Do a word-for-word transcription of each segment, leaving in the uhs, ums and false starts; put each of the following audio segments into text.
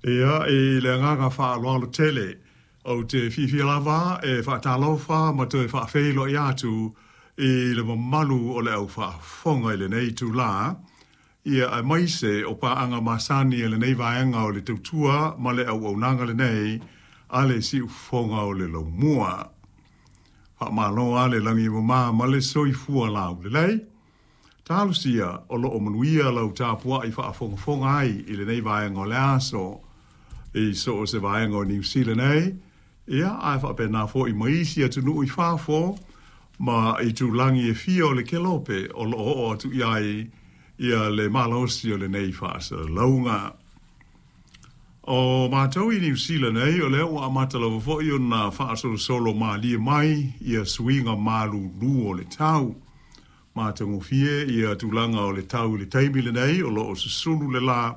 Ia, i le agaga faaaloalo tele, ou te fiafia lava e faatalofa ma toe faafeiloai atu i le mamalu o le au faafofoga i lenei itulā, ia aemaise o paaga masani a lenei vaega o le tautua ma le auaunaga lenei a le Siufofoga o le Laumua. Faamalo lava le lagi e mama ma le soifua laulelei. Talosia o lo o manuia lau tapuai faafogafoga ai i lenei vaega o le aso i so o se vaega o Niu Sila nei, ia ae faapena foi ma isi atunuu i fafo ma itulagi e fia o le kelope o lo o oo atu i ai ia le malosi o lenei faasalalauga. O matou i Niu Sila nei, o lea ua amata lava foi ona faasolosolo malie mai ia suiga malulu o le tau. Matagofie ia tulaga o le tau i le taimi lenei, o lo o susulu le la,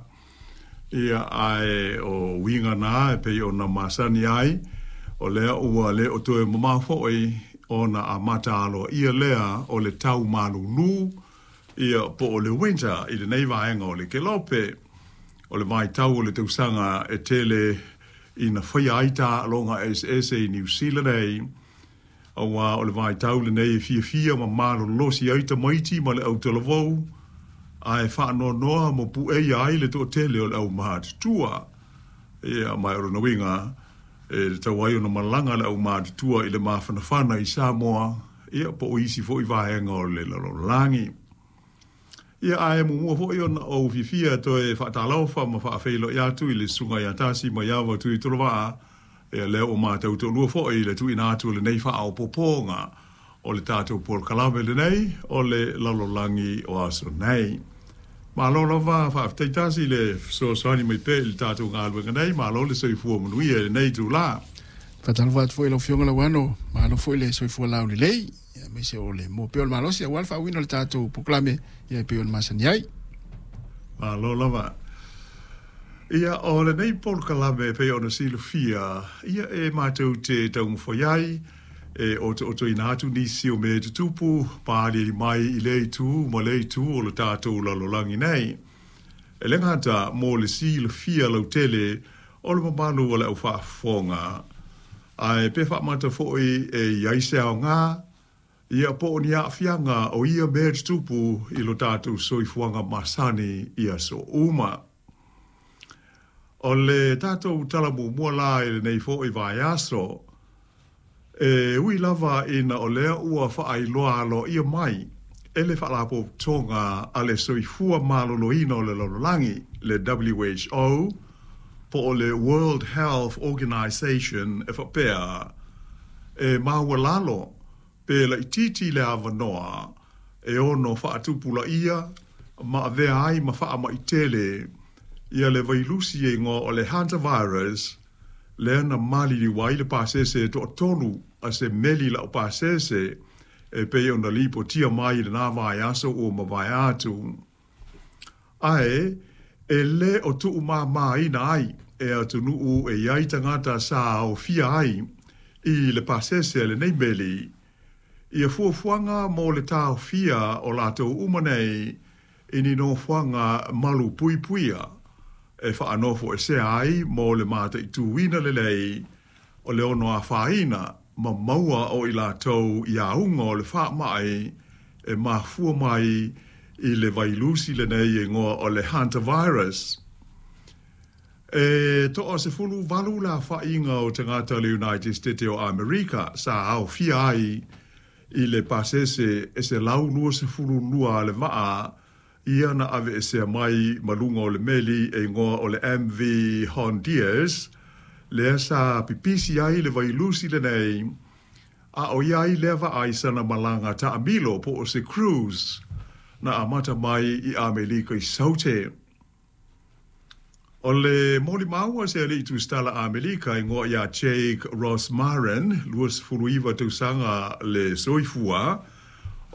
ia ae o uiga na e pei ona masani ai, o lea ua le o toe mamao foi ona amata aloaia lea o le tau malulu, ia po o le winter i lenei vaega o le kelope. O le vaitau o le tausaga e tele ina faia ai taaloga eseese i Niu Sila nei, aua o le vaitau lenei e fiafia ma malolosi ai tamaiti ma le autalavou, ae faanoanoa ma pueia ai le toatele o le aumatutua. Ia, ma o lona uiga, e tatau ai ona malaga le aumatutua i le mafanafana i Samoa, ia po o isi foi vaega o le lalolagi. Ia, ae muamua foi ona ou fiafia toe faatalofa ma faafeiloai atu i le susuga ia Tasi Maiava Tuitolovaa, ia lea ua matou toalua foi i le tuuina atu o lenei faaopoopoga o le tatou polokalame lenei o le lalolagi o aso nei. Malo lava, faafetai Tasi i le fesoasoani mai pea i le tatou galuega nei, malo le soifua manuia i lenei itula. Faatalofa atu foi i lau Afioga Lauano, malo foi le soifua laulelei, aemaise o le maua pea o le malosi aua le faauiina o le tatou polokalame ia e pei ona masani ai. Malo lava. Ia, o lenei polokalame e pei ona silafia, ia e matou te taumafai ai, e otootoina atu nisi o mea e tutupu, ma aliali mai i lea itu ma lea itu o le tatou lalolagi nei. E le gata mo le silafia lautele o le mamalu o le au faafofoga, ae pe faamata foi e i ai se aoga, ia po o ni aafiaga o ia mea tutupu i lo tatou soifuaga masani i aso uma. O le tatou tala muamua la i lenei foi vaiaso, e ui lava ina o lea ua faailoa aloaia mai e le Faalapotopotoga a le Soifua Maloloina o le Lalolagi, le W H O, po o le World Health Organization e faapea, e maualalo pe laitiiti le avanoa e ono faatupulaia ma avea ai ma faamai tele ia le vailusi e igoa o le hantavirus, lea na maliliu ai le pasese e toatolu a se meli laupasese e pei ona lipotia mai i lena vaiaso ua mavae atu. Ae, e le o tuumāmāina ai e atunuu e i ai tagata sa aofia ai i le pasese a lenei meli, ia fuafuaga mo le taofia o latou uma nei i ni nofoaga malu puipuia e faanofoesea ai mo le mataituina lelei o le ono afaina ma maua o i latou i auga o le faamai e mafua mai i le vailusi lenei e igoa o le hantavirus. E toa sefulu valu le aofaiga o tagata o le United States o Amerika sa aofia ai i le pasese e selau luasefulu lua a le vaa ia na aveesea mai ma luga o le meli e igoa o le M V Hondius, lea sa pipisi ai le vailusi lenei, a o ia ai lea vaa i sana malaga taamilo po o se cruise na amata mai i Amelika i Saute. O le molimau a se alii tusitala Amelika igoa ia Jake Rosmarin, luasefulu iva tausaga le soifua,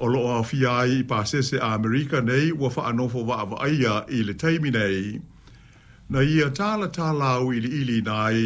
o lo o aofia ai i pasese Amerika nei ua faanofo vaavaaia i le taimi nei, na ia talatala auiliiliina ai